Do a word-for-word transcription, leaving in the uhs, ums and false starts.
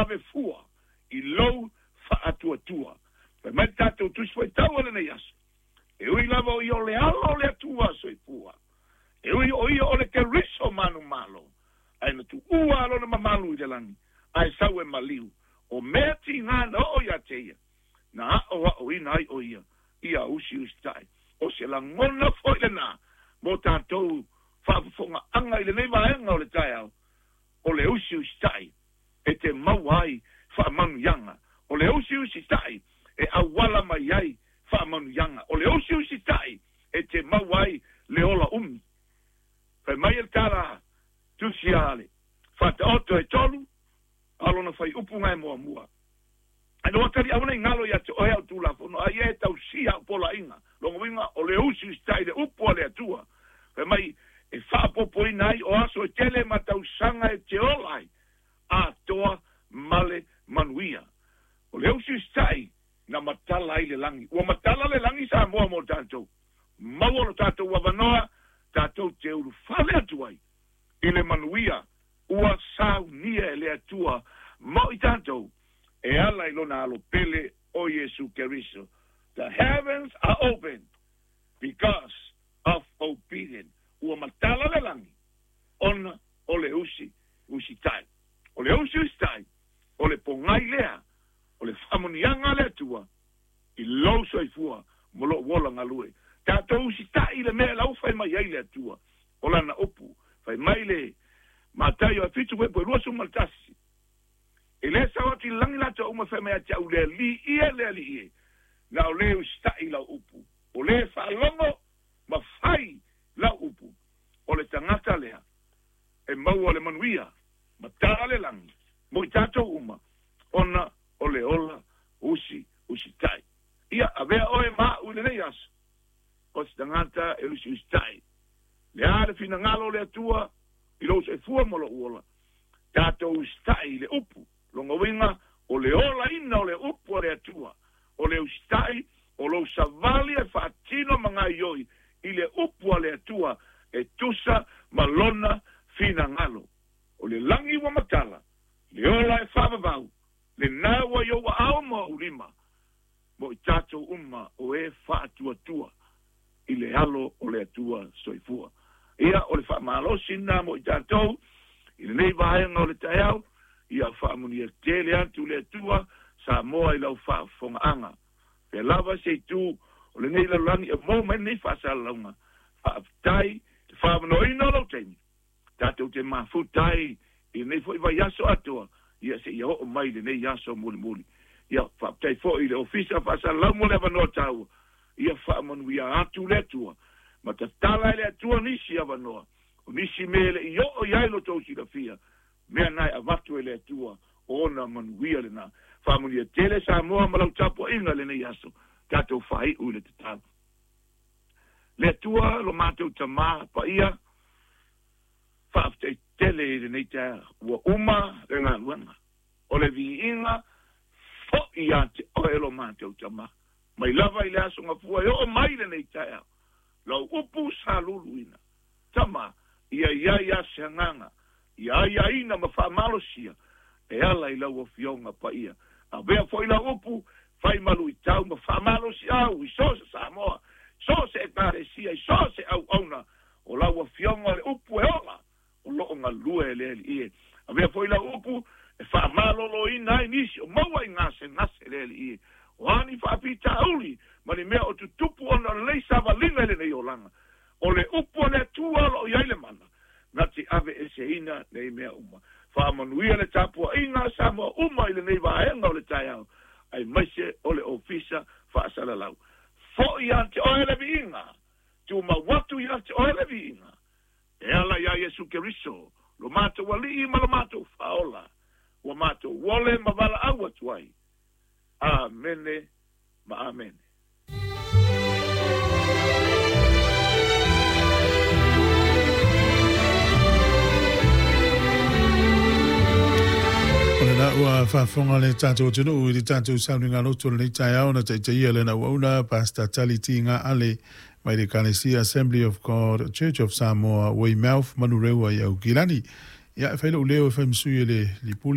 ave fua i lou faatuatua. Fai mai le tatou Tusi Faitau o lenei aso, e ui lava o ia o le Alo o le Atua soifua, e ui o ia o le Keriso manumalo, ae na tuua lona mamalu i le lagi, ae sau e maliu, o mea tigā na oo ia te ia, na aʻoaʻoina ai o ia, ia usiusitai. O se lagona foi lenā, mo tatou faafofogaaga i lenei vaega o le taeao, o le usiusitai e te maua ai faamanuiaga. O le usiusitai e auala mai ai faamanuiaga. O le usiusitai e te maua ai le ola umi. Fai mai e le tala tusi a le Faataoto e tolu, a lona faiupu gae muamua. Ae na tali aua nei galo ia te oe au tulafono, a ia e tausia au polaina. Lona uiga o le usiusitai le upu a le Atua. Fai mai e faapopoina ai o aso e tele ma tausaga e te ola ai, atoa ma le manuia. O le usiusitai na matala ai le lagi. Ua matala le lagi Samoa mo tatou. Maua lo tatou avanoa, tatou te ulufale atu ai i le manuia ua saunia e le Atua mo i tatou e ala i lona alo pele o Iesu Keriso. The heavens are open because of obedience. Ua matala le lagi ona o le usi usitai. O le usi usitai, o le pogai lea, o le faamuniaga le Atua i lou soifua mo lou ola galue. Tatou usitai le mea lau fai mai ai le Atua. O lana upu, fai mai le Mataio e fitu fuaiupu e luasefulu ma le tasi. E lē sau atu i le lagi latou uma fai mai ia te au le Alii e, le Alii e, na o lē usitai lau upu, o lē faalogo ma fai lau upu, o le tagata lea e maua le manuia ma tala le lagi mo i tatou uma, ona o le ola usi usitai. Ia avea oe ma a'u i lenei aso o se tagata e usiusitai. Le a le finagalo o le Atua i lou soifua ma lou ola, tatou usitai i le upu. Lona uiga o le olaina o le upu a le Atua, o le usitai o lou savali e faatino ma gaoioi i le upu a le Atua e tusa ma lona finagalo. O le lagi ua matala, le ola e faavavau, lenā ua i ou aao ma ou lima, mo i tatou uma o e faatuatua i le Alo o le Atua soifua. Ia, o le faamalosi lenā mo i tatou i lenei vaega o le taeao, ia faamanuia tele atu le Atua Samoa i lau faafofogaaga. Pea lava se itu o lenei lalolagi e maua mai lenei faasalalauga, faafetai le faamanoina o lou taimi, tatou te mafuta ai i lenei foi vaiaso atoa, ia seia oo mai i lenei aso mulimuli. Ia faafetai foi i le Ofisa Faasalalau mo le avanoa taua, ia faamanuia atu le Atua, ma tatala e le Atua nisi avanoa, o nisi mea e le i oo i ai lo tou silafia, mea na e avatu e le Atua, o ona manuia lenā. Faamanuia tele Samoa ma lau tapuaiga i lenei aso, tatou faaiu i le tatalo. Le Atua lo matou Tamā paia, faafetai tele i lenei taeao, ua uma le galuega, o le viiga foi ia te oe lo matou Tamā, mai lava i le aso gafua e oo mai lenei taeao, lau upu sa luluina, Tama, ia i ai a se agaga, ia aiaina ma faamalosia, e ala i lau Afioga paia. Avea foi lau upu, fai maluitau ma faamalosiau i so o se Samoa, so o se Ekalesia, i so o se auauna, o lau Afioga o le upu e ola, o loo galue e le Alii e. Avea foi lau upu e faamaloloina ai nisi o maua i gasegase le Alii e. O a ni faafitauli ma ni mea o tutupu ona o lenei savaliga i lenei olaga, o le upu a le Atua o loo i ai le mana, na te aveeseina nei mea uma. Faamanuia le tapuaiga a Samoa uma i lenei vaega o le taeao, aemaise o le Ofisa Faasalalau. Foi ia te oe le viiga, tumau atu ia te oe le viiga, e ala iā Iesu Keriso, lo matou Alii ma lo matou Faaola, ua matou ole ma valaau atu ai. Amene ma amene. O lena ua faafofoga le tatou atunuu i le tatou sauniga loto o lenei taeao na taitaia lana auauna Pastor Tali Tiga Ale mai le Ekalesia Assembly of God Church of Samoa, Weymouth, Manurewa i Aukilani. Ia e fai lou leo e fai ma sui o le Lipule